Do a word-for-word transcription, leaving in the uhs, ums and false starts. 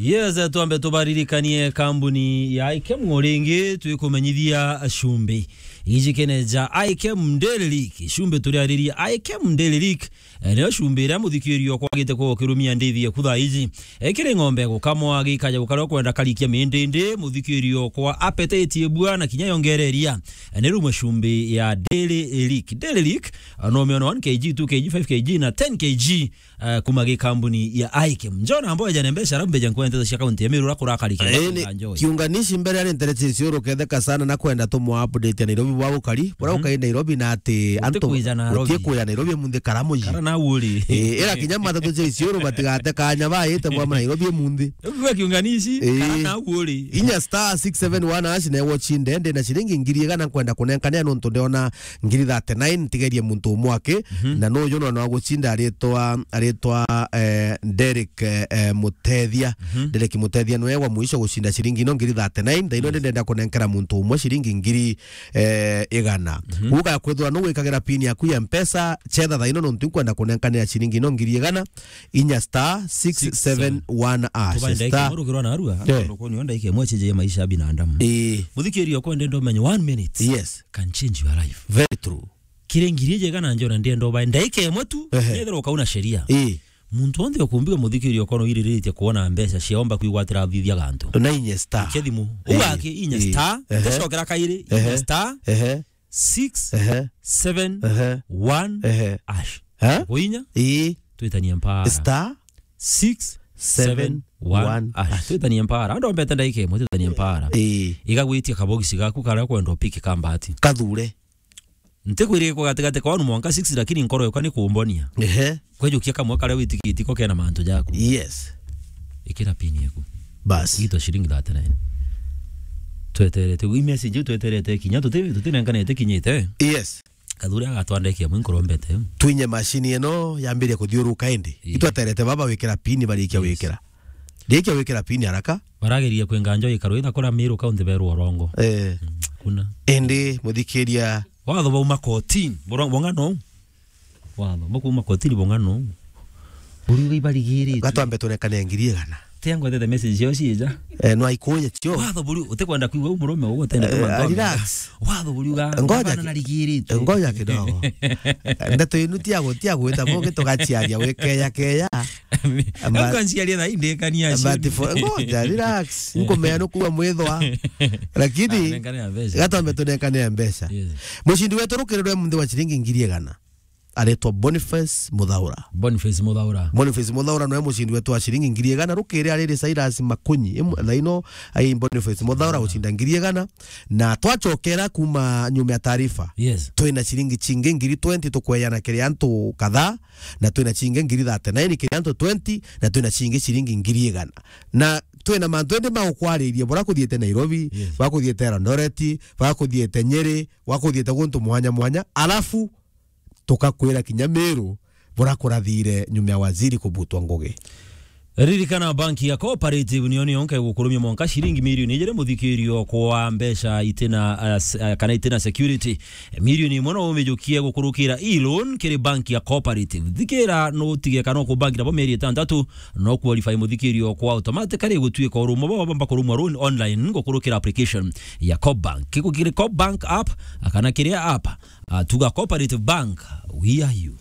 Yes, twambe tubaririkanie kambuni ya Ikem o ringi, twikumenyithia cumbi. Iji kene ja Ikem Daily Leak, cumbi turiaririe Ikem Daily Leak. Eh, niyo cumbi iria muthikiri okwa agite kwa ukirumia ndithi eku thaa iji. Eh, kiri ng'ombe gukamwa gikaja gukaria kwenda karikia mindindi, muthikiri okwa appetite ibua na kinya yongereria. Eh, ni rumwe cumbi ya Daily Leak. Daily Leak, eh, no umiona one K G, two K G, five K G na ten K G, eh, kuma gi kambuni ya Ikem. Njona ambo eja ne mbeca, arabu mbeja nkwenda nteto cia kaunti ya Meru, ura kurakarikia. Eh, ni nganjo. Kiunganishi mbere ari ntere cia Isiolo ketheka sana na kwenda tumwa update ya Nairobi bwa gukari. Bura Mhm. ukai Nairobi na ati antu kwija Nairobi. Utie kuja Nairobi munthi karamu ji. Kara na uri. Eh, ira kinya matatu cia Isiolo batigate kanya baite bwa Nairobi munthi. Ukigwa kiunganishi, Eh. kara na uri. Inya star six seven one hash na watch ndende na ciringi ngiri igana nkwenda kunenkanea nontu ndiona ngiri thirty-nine, ntigerie muntu umwe aki, Mhm. na nuju no, no agucinda aritwa, aritwa, eh, Derek, eh, eh, Mutethia. Mhm. Derek Mutethia niwe wa mwisho gucinda ciringi ino ngiri thirty-nine, thaino Yes. ndenda kunenkera muntu umwe ciringi ngiri, eh, igana. Mhm. Uga kwithwa nu gwikagira pin yaku ya Mpesa, chetha thaino nontu nkwenda kunenkanira ciringi ino ngiri igana, inya star six seven one hash. Tubae ndaika Star. imwe rukirwa narua, Eh. tondu kuni yo ndaika imwe cenjeie maisha ya binadamu. Ii. Muthikiri okwa ndenda umenye one minute Yes. can change your life. Very true. Kiri ngiri iji igana njona ndienda ubae ndaika imwe tu, Ehe. nethira ukauna sheria. Ii. Muntu onthe ukumbiwa muthikiri okwa no iririritie kuona mbeca ciaomba kwigwatira athithia gantu. Na inya star. Ikia thimu. Ii. Ugaki inya Ii. star, Ehe. ndicokera kairi, inya Ehe. star, Ehe. six seven one Ehe. hash. Ehe. Ha? Kuinya? Ii. Twitanie mpara. Star six seven one hash. Twitanie mpara. Ando mbete ndaika imwe, twitanie mpara. Ii. Igagwitia kabogisi gaku karia kwenda upiki ka mbati. Kathure. Ntikwiririe kwa gatigati kwa one mwanka six, lakini nkoro yakwa ni kumbonia. Ehe. Kwejukia kamwe karia witikiti ko kena mantu jaku. Yes. Ikira pin yaku. Bas. Gitwa ciringi thirty-nine. Tweterete, i message iu tweterete kinya, tuti-, tutinenkanete kinyite. Yes. Kathuri agatwandekia mwi nkorombete. Twinye machine ino yambirie kuthiuruka indi. Ii. Itweterete baba wikira pin, barikia Yes. wikira. Rikia wikira pin haraka. Barageria kwenga njo ikaro itha kura Meru kaunti berwa urongo. Eh. Mm, kuna. Indi muthikiria. Watho bauma kotini, bura-, bong'ano. Watho, bakuuma kotini bong'ano. Buriuga ibarigiritwe. Gatwambe turekane ngiri igana. Tia ngwetete message ciao ciija. Eh, no aikuye cio. Watho buri, utikwenda kuigua u murume uguo utendete Eh, mantu relax. Watho buriuga, Ngoja ngavana ki-, narigiritwe. ngoja kidogo. Ndeto inu tia gu-, tia gwita bungi tugaciaria wikeya keya. Amba-, Nkanciaria thaa indikania but for, ngoja, relax. Nkumea nukuwa mwithwa. Lakini, Ah, nengane ya mbeca. Gatwambe tunengane ya mbeca. Yes. Mucindi wetu rukirirwe munthi wa ciringi ngiri igana. Aretwa Boniface Muthaura. Boniface Muthaura. Boniface Muthaura noe mucindi wetu wa ciringi ngiri igana. Rukiri ariri Cyrus Makunyi. Imu-, thaino ai Boniface Muthaura gucinda ngiri igana. Na twacokera kuma nyuma ya taarifa. Yes. Twina ciringi cingi ngiri twenty tukweyana kiri antu kadhaa. Na twina cingi ngiri thirty-nine kiri antu twenty, na twina cingi ciringi ngiri igana. Na twina mantu indi ma gukwariria, bura kuthiite Nairobi, Yes. bura kuthiite Eldoret, bura kuthiite Nyeri, bura kuthiite guntu mwanya mwanya, alafu tukakwira kinya Meru, bura kurathire nyuma ya waziri kubutwa ngugi. Ririkana, banki ya Cooperative niyo niyo nka igukurumia mwanka ciringi milioni ijiri muthikirio kwa mbeca itina, uh, s-, uh, kana itina security. Milioni imwe no umijukie gukurukira e-loan kiri banki ya Cooperative. Thikira, no utige kana ukubanki nabo mieri itantatu, no qualify muthikirio kwa automatically gutuika urumwe bwa bamba kurumwa loan online gukurukira application ya Coopbank. Kiku kiri Coopbank app, kana kiria app, uh, tuga Cooperative Bank, we are you.